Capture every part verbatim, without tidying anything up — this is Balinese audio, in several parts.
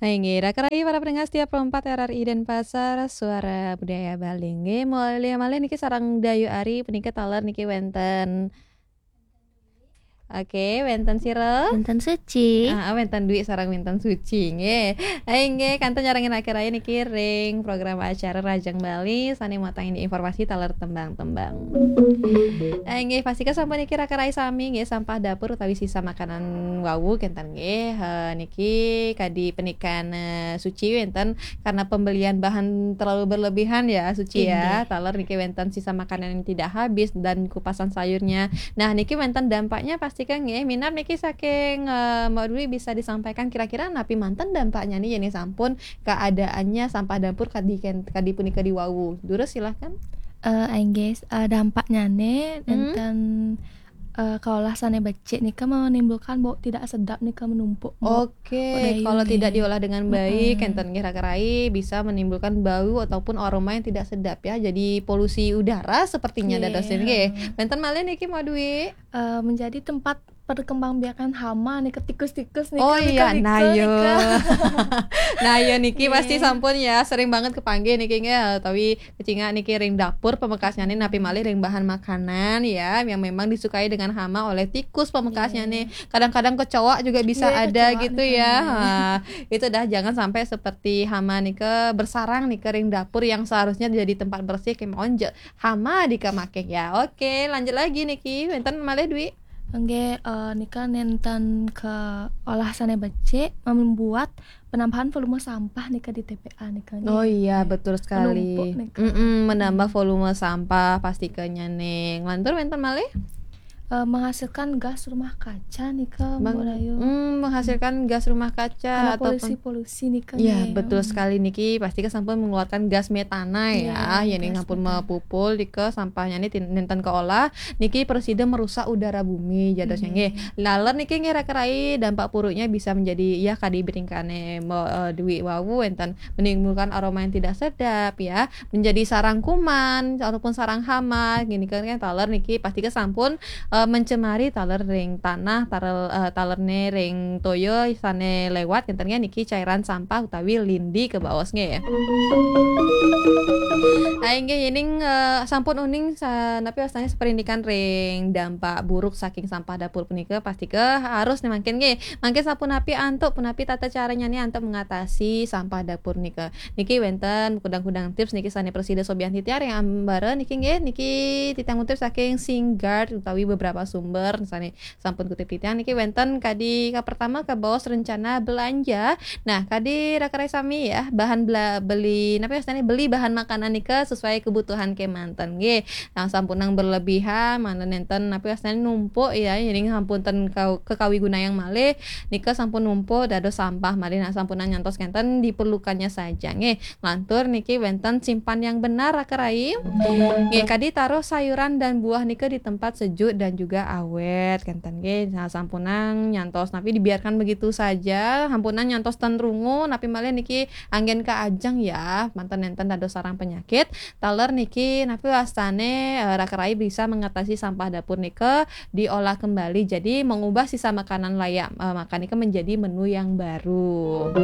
Inggih, raka rayi para pendengar setia Pro empat R R I Denpasar, Suara Budaya Bali. Inggih, malih, malih niki sareng Dayu Ari, punika taler niki wenten. Oke, wenten sira? Wenten Suci. Ah, wenten Dwi sareng wenten Suci, nggih. Inggih, kantun nyarengin raka rayi niki ring program acara Rajang Bali, sane mautang informasi taler tembang-tembang. Inggih, pastika sampun niki raka rayi sami, nggih, sampah dapur utawi sisa makanan wau kenten, nggih. Eh, niki kadi penikan, eh, Suci wenten karena pembelian bahan terlalu berlebihan ya, Suci ya. Inggih. Taler niki wenten sisa makanan yang tidak habis dan kupasan sayurnya. Nah, niki wenten dampaknya pastika nggih. Minab niki saking, eh, Mbak Dwi bisa disampaikan kira-kira napi manten dampaknya nih, yen sampun keadaannya sampah dapur kadi ken-, kadi punika diwawu. Durus silahkan. Eh, inggih, eh, dampaknya nih Hmm. enten, eh, kaolah sane becik nika menimbulkan bau tidak sedap nika menumpuk, Mbok. Oke, Dayu kalau nih. Tidak diolah dengan baik, Mm-mm. Enten nggih raka rayi bisa menimbulkan bau ataupun aroma yang tidak sedap ya. Jadi polusi udara sepertinya. Iya. Dados nggih. Wenten malih niki Mbak Dwi. Eh, menjadi tempat perkembangbiakan hama nih, ke tikus-tikus nih, Oh ke iya, bika-bika nah nih, yo. Ke. Nah yo niki pasti Iya. Sampun ya, sering banget kepanggih niki nggih, utawi kecingak niki ring dapur pamekasnya nih, napi malih ring bahan makanan ya, yang memang disukai dengan hama oleh tikus pamekasnya Iya. Nih. Kadang-kadang kecoa juga bisa Iya, ada kecoa gitu nih ya. Kan. Nah, itu dah jangan sampai seperti hama nih ke bersarang nih ke ring dapur yang seharusnya jadi tempat bersih, kemawon je hama dikamaking ya. Oke, lanjut lagi niki. Wenten malih Dwi. Nggih, eh, nika nenten ke olah sane becik membuat penambahan volume sampah nika di T P A nika, nggih. Oh iya, betul sekali. Menumpuk nika. Mm-mm, menambah volume sampah pastikanya ning. Lantur wenten malih? Eh, menghasilkan gas rumah kaca nika, Mbok Dayu. Hmm, menghasilkan gas rumah kaca. Karena ataupun polusi-polusi nika. Ya, nggih. Betul sekali niki, pastika sampun mengeluarkan gas metana ya. Iya, yen gas sampun metana. Mepupul nika sampahnya ini tin-, nenten keolah. Niki presiden merusak udara bumi jadosnya nggih. Nggih. Laler niki nggih raka rayi dampak buruknya bisa menjadi ya kadi bringkane me-, eh, Dwi wau enten menimbulkan aroma yang tidak sedap ya, menjadi sarang kuman ataupun sarang hama. Gini kan, kan taler niki pastika sampun, eh, mencemari taler ring tanah, taler, eh, talerne ring toya sane lewat kenten niki cairan sampah utawi lindi kebaos nggih. Ah, inggih, yening, eh, sampun uning sa-, napi wastane seperindikan ring dampak buruk saking sampah dapur punika, pastika harus nih mangkin nggih. Mangkin sapunapi antuk, punapi tata caranya nih antuk mengatasi sampah dapur nika. Niki wenten kudang-kudang tips niki sane prasida sobian titiang ring ambara niki nggih, niki titiang kutip saking Singard utawi beberapa sumber sane sampun kutip titiang niki wenten kadi ka pertama kabaos rencana belanja. Nah, kadi raka rayi sami ya, bahan bela-, beli, napi wastane beli bahan makanan nika sesuai kebutuhan kemanten nggih. Nah, sampunang berlebihan, manten nenten napi wastane numpuk ya, yening sampun ten kau-, kekawigunayang malih, nika sampun numpuk dados sampah malih. Nah, sampunang nyantos kenten diperlukannya saja nggih. Lantur niki wenten simpan yang benar raka rayi. Nggih, kadi taruh sayuran dan buah nika di tempat sejuk dan juga awet kenten nggih. Nah, sampunang nyantos napi dibiarkan begitu saja, sampunang nyantos ten rungu, napi malih niki anggen kaajeng ya, manten nenten dados sarang penyakit. Taler niki napi wastane, eh, raka rayi bisa mengatasi sampah dapur nika diolah kembali. Jadi mengubah sisa makanan layak, eh, makan nika menjadi menu yang baru.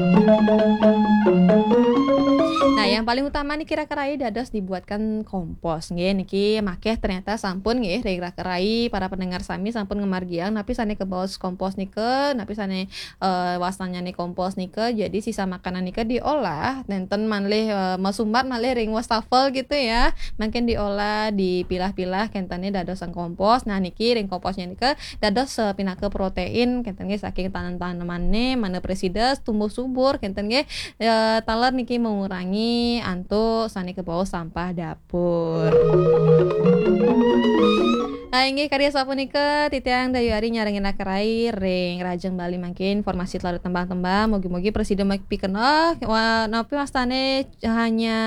Nah, yang paling utama niki raka rayi dados dibuatkan kompos nggih. Niki makeh ternyata sampun nggih ring raka rayi para pendengar sami sampun ngamargiang napi sane kebaos kompos nika, napi sane eh, wastannyane kompos nika, jadi sisa makanan nika diolah, nenten malih, eh, masumbat malih ring wastafel gitu ya. Mangkin diolah, dipilah-pilah, kentene dados sang kompos. Nah, niki ring komposnya nika dados, eh, pinaka protein, kenten nggih saking tanem-tanemane, mane prasida tumbuh subur, kenten nggih, eh, taler niki mengurangi antuk sane kebaos sampah dapur. Ah, inggih, karya sapunika, titiang Dayu Ari nyarengin raka rayi ring Rajang Bali mangkin, informasi taler tembang-tembang, mugi-mugi prasida mapikenoh, wa-, napi wastane hanya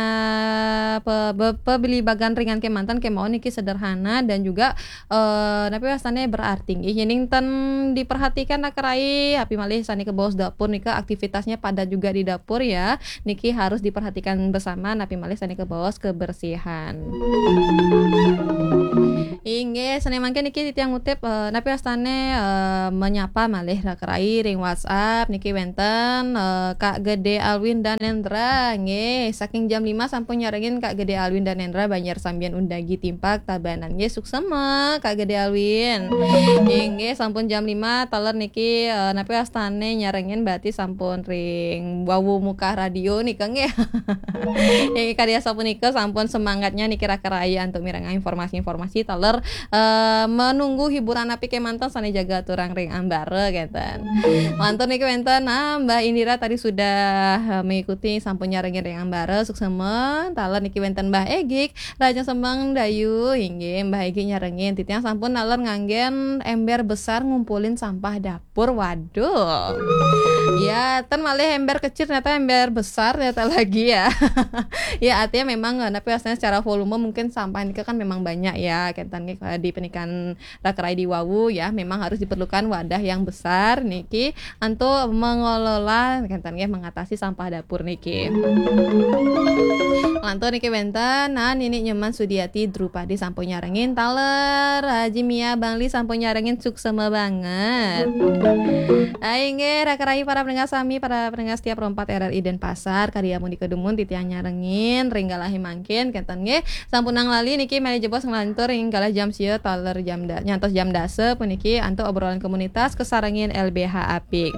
pe-, be-, pebeli bagan ringan kemanten kemawon niki sederhana dan juga, eh, napi wastane berarti nggih. Yening ten diperhatikan raka rayi, api malih sane kebaos dapur nika aktivitasnya padat juga di dapur ya. Niki harus diperhatikan bersama, napi malih sane kebaos kebersihan. Inggih, sané mangkin niki titiang ngutip, eh, napi wastane, eh, menyapa malih raka rai ring WhatsApp niki wenten, eh, Kak Gede Alwin Danendra, nggih, saking jam lima sampun nyarengin Kak Gede Alwin Danendra, Banjar Sambian Undagi Timpak Tabanan, nggih, suksema Kak Gede Alwin. Inggih, sampun jam lima taler niki, eh, napi wastane nyarengin berarti sampun ring wawu muka radio nika, nggih. Inggih, kadi asapunika sampun semangatnya niki raka rai antuk mirengang informasi-informasi taler, eh, menunggu hiburan napi kemanten sane jaga aturang ring ambara kenten. Lantur niki wenten, nah, Mbah Indira tadi sudah, eh, mengikuti sampun nyarengin ring ambara suksema, taler niki wenten Mbah Egik, Raja Semeng Dayu, inggih Mbah Egik nyarengin titiang sampun taler nganggen ember besar ngumpulin sampah dapur. Waduh. Ya, ten malih ember kecil ternyata ember besar ternyata lagi ya. Ya, artinya memang, eh, napi wastane secara volume mungkin sampah niki kan memang banyak ya. Kenten nggih, eh, di pernikahan raka rai di wawu ya, memang harus diperlukan wadah yang besar niki untuk mengelola kenten nggih, mengatasi sampah dapur niki. Lantur niki wenten, nah, Nini Nyoman Sudiati Drupadi sampun nyarengin taler, Haji Mia Bangli sampun nyarengin suksema banget. Ah, inggih, raka rai para pendengar sami, para pendengar setia Pro empat R R I Denpasar, kadi amunika dumun titiang nyarengin ring galahe mangkin, kenten nggih. Sampunang lali niki malih jebos nglantur ring galah jam sia taler jam da-, nyantos jam dasa puniki antuk obrolan komunitas kasarengin L B H apik.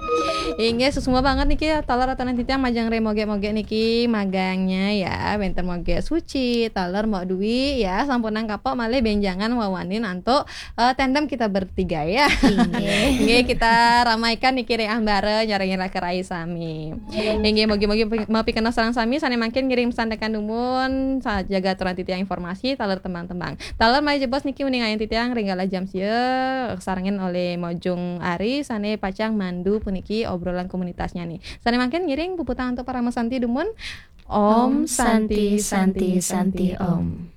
Inggih, suksma banget niki taler aturang titiang majeng ring Moge-Moge niki magangnya ya, wenten Moge Suci, taler Mbok Dwi ya, sampunang kapok malih benjangan wawanin antuk, eh, tandem kita bertiga ya. Inggih. Nggih, kita ramaikan niki ring ambara nyarengin raka rai sami. Inggih, mugi-mugi mapikenoh sareng sami sane mangkin ngiring sandekan dumun, sa-, jaga aturang titiang informasi, taler tembang-tembang. Taler malih jebos niki uning ayun titiang ring galah jam sia, sarengin olih Mojung Ari sane pacang mandu puniki obrolan komunitasnya nih. Sane mangkin ngiring puputang antuk Parama Santi dumun. Om Santi, Santi, Santi, Om.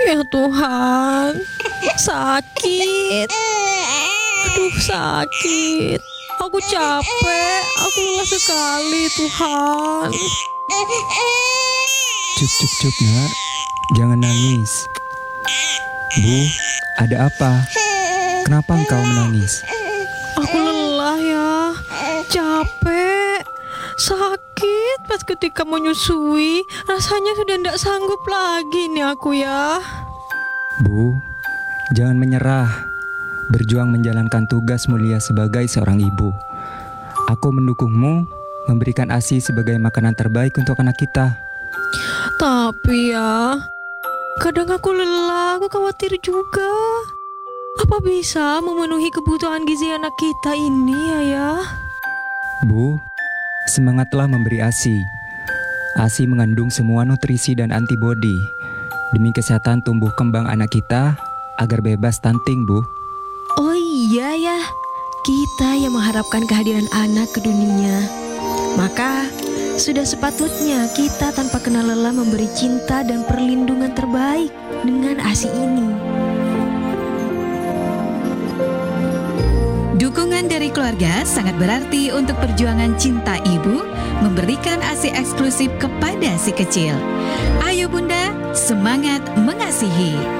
Ya Tuhan, sakit. Aduh, sakit. Aku capek, aku lelah sekali, Tuhan. Cup, cup, cup, nak. Jangan nangis. Bu, ada apa? Kenapa engkau menangis? Aku lelah ya, capek, sakit pas ketika menyusui, rasanya sudah ndak sanggup lagi nih aku ya. Bu, jangan menyerah. Berjuang menjalankan tugas mulia sebagai seorang ibu. Aku mendukungmu memberikan ASI sebagai makanan terbaik untuk anak kita. Tapi ya, kadang aku lelah, aku khawatir juga. Apa bisa memenuhi kebutuhan gizi anak kita ini, Ayah? Bu, semangatlah memberi ASI. ASI mengandung semua nutrisi dan antibodi. Demi kesehatan tumbuh kembang anak kita, agar bebas stunting, Bu. Oh iya ya, kita yang mengharapkan kehadiran anak ke dunia. Maka, sudah sepatutnya kita tanpa kenal lelah memberi cinta dan perlindungan terbaik dengan ASI ini. Dukungan dari keluarga sangat berarti untuk perjuangan cinta ibu memberikan ASI eksklusif kepada si kecil. Ayo Bunda, semangat mengasihi.